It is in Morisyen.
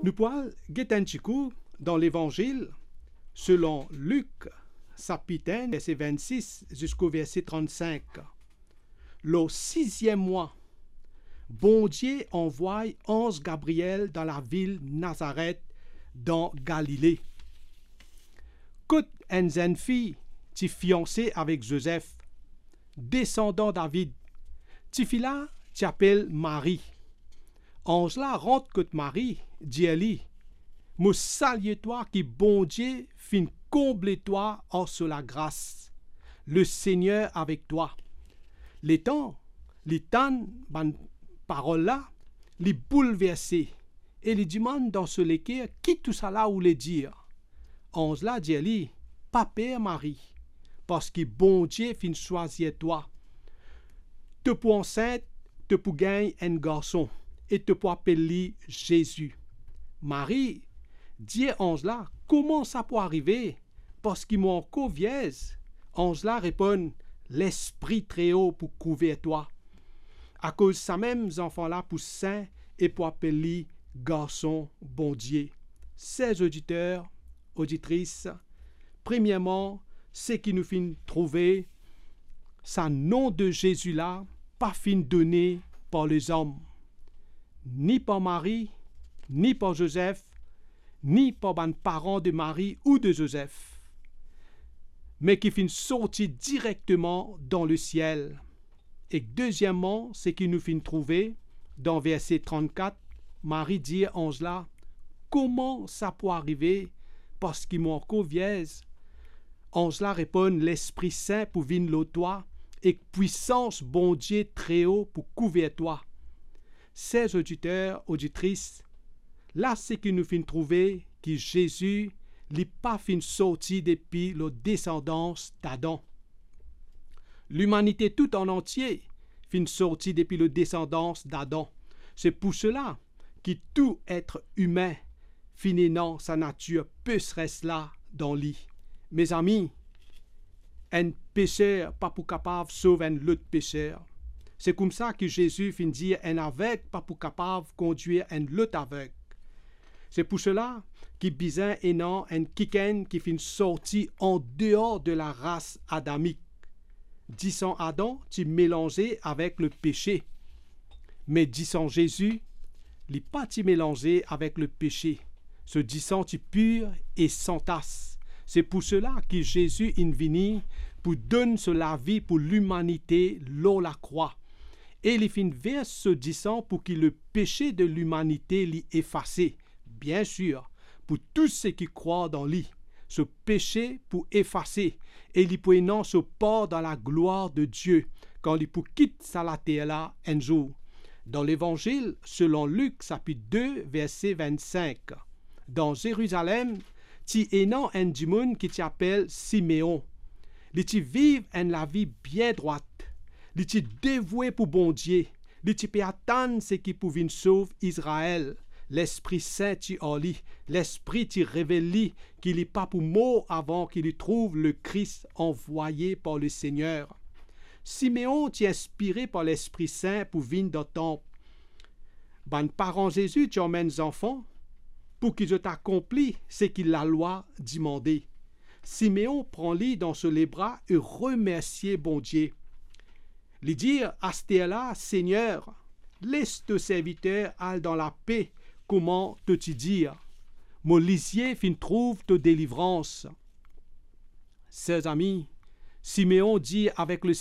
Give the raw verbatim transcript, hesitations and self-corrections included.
Nou pou al get enn ti kou dan Levanzil selon Lik, sapit enn, verse vennsis ziska verse trannsink. Lor siziem mwa, Bondie anvway anz Gabriel dan lavil Nazaret, dan Galile, kot enn zenn fi ti fianse avek Zozef, desandan David. Tifi la ti apel Marie. Anz la rant kot Marie, dir li, "Mo salie twa ki Bondie finn konble twa ar so lagras. Lesegner avek twa." Letan li tann bann parol la, li boulverse e li dimann dan so leker, "Ki tousala oule dir?" Anz la dir li, "Pa per, Marie, parski Bondie finn swazir twa. To pou ansint, to pou gagn enn garson e to pou apel li Zezi." Marie dir anz la, "Kouma sa pou arive, parski mo ankor vierz?" Anz la reponn, "Lespri Treo pou kouver twa. Akoz samem zanfan la pou sin e pou apel li Garson Bondie." Ser oditer, oditris, premierman, seki nou finn trouve, sa nom de Zezi la pa finn done par lezom, ni par Marie, ni par Zozef, ni par bann paran de Marie ou de Zozef, me ki finn sorti direkteman dan lesiel. Ek dezieman, seki nou finn trouve dan verse trannkat, Marie dir anz la, "Kouma sa pou arive, parski mo ankor vierz?" Anz la reponn, "Lespri Sin pou vinn lor twa, ek pwisans Bondie Treo pou kouver twa." Ser oditer, oditris, la seki nou finn trouve ki Zezi, li pa finn sorti depi lor desandans Adam. Limanite tou an antie finn sorti depi lor desandans Adam. Se pou sela ki tou et imin finn ena sa natir peseres la dan li. Mezami, enn peser pa pou kapav sov enn lot peser. Se koumsa ki Zezi finn dir enn aveg pa pou kapav kondwir enn lot aveg. Se pou sela ki bizin ena enn kikenn ki finn sorti andeor de laras adamik. Disan Adam ti melanze avek lepese, me disan Zezi, li pa ti melanze avek lepese. So disan ti pir e san tas. Se pou sela ki Zezi inn vini pou donn so lavi pou limanite lor lakrwa. E li finn vers so disan pou ki lepese de limanite li efase. Biensir, pou tou seki krwar dan li, so pese pou efase e li pou ena so par dan laglwar de Die kan li pou kit sa later la enn zour. Dan Levanzil selon Lik, sapit de, verse vennsink, dan Zerizalem, ti ena enn dimoun ki ti apel Simeon. Li ti viv enn lavi bien drwat. Li ti devoue pou Bondie. Li ti pe atann seki pou vinn sov Izrael. Lespri Sin ti ar li. Lespri ti revel li ki li pa pou mor avan ki li trouv Lekris anvwaye par Lesegner. Simeon ti inspire par Lespri Sin pou vinn dan tanp. Bann paran Zezi ti anmenn zanfan pou ki zot akonpli seki lalwa dimande. Simeon pran li dan so lebra e remersie Bondie. Li dir, "Asterla, Segner, les to serviter al dan lape, kouma to ti dir. Mo lizie finn trouv to delivrans." Ser zami, Simeon dir avek le